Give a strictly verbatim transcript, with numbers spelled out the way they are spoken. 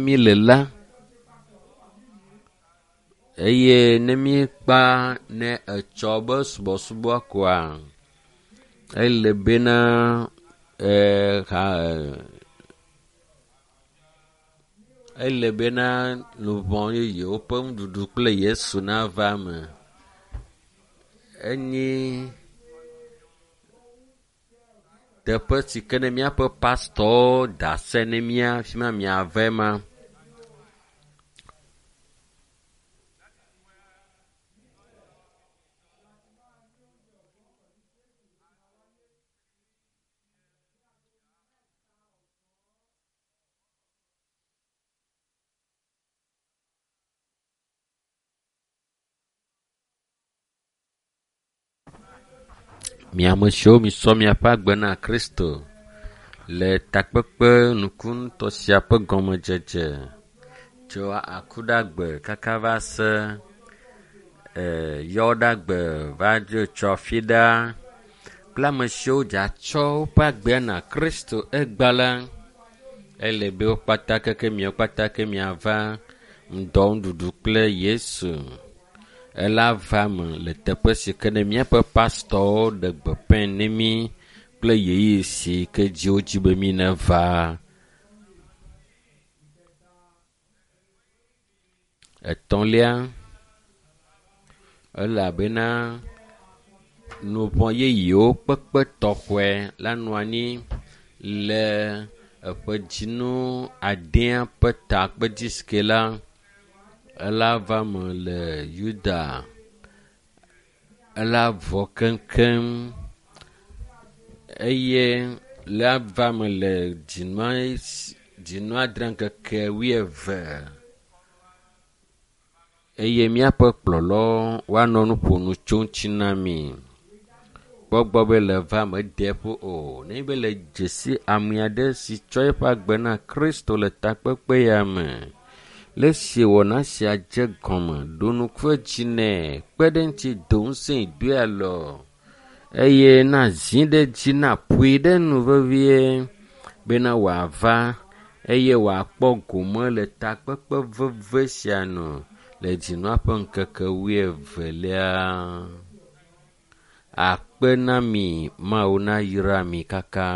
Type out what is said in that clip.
mi le la eye ne míekpa ne etsɔ be subɔsubɔ koa ele bena e, ha, ele bena luʋɔ yeyewo ƒe nuɖuɖu kple Yesu nava eme. Enyi teƒe si ke ne míaƒe pastɔwo da se ne mía fi ma miave ma. Mi ame siwo misɔ miaƒe agbe na Kristo le takpekpe nukunutɔ sia ƒe gɔmedzedze tso akuɖagbe kaka va se e yɔɖagbe va dzo tsɔ fi ɖa kple ame siwo dzatsɔ woƒe agbe na Kristo egba la ele be wo kpata keke miawo kpata ke miava ŋdɔ nuɖuɖu kple Yesu. Ela va me le teƒe si ke ne míaƒe pastɔwo ɖe gbeƒãe ne mí kple ɣeyiɣi si ke dzi wodzi be mí neva. Etɔ̃lia, elabena nuvɔ yeyewo kpekpe tɔxɔe la nɔ anyi le eƒe dzinu adea ƒe takpedzi si ke la ela va me le Yuda. Ela vɔ keŋkeŋ eye la va me le dzinua dzinu adre ŋkeke wuieve eye míaƒe kplɔlawo woanɔ nu ƒom tso ŋuti na mi. Kpɔ gbɔ be le va me de ƒo o. Nenye be le dzesi ame aɖe si tsɔ eƒe agbe na Kristo le takpekpe ya me. Le esi wɔna sia dze gɔme ɖo ŋku edzi nɛ kpe ɖe eŋuti do ŋusẽ doe alɔ eye na zi ɖe edzi na ƒoe ɖe nu vevie bena wòava eye wòakpɔ gome le takpekpe veve sia nu le dzinua ƒe ŋkeke wuievelia. Akpe na mi, Mawu nayra mi kaka.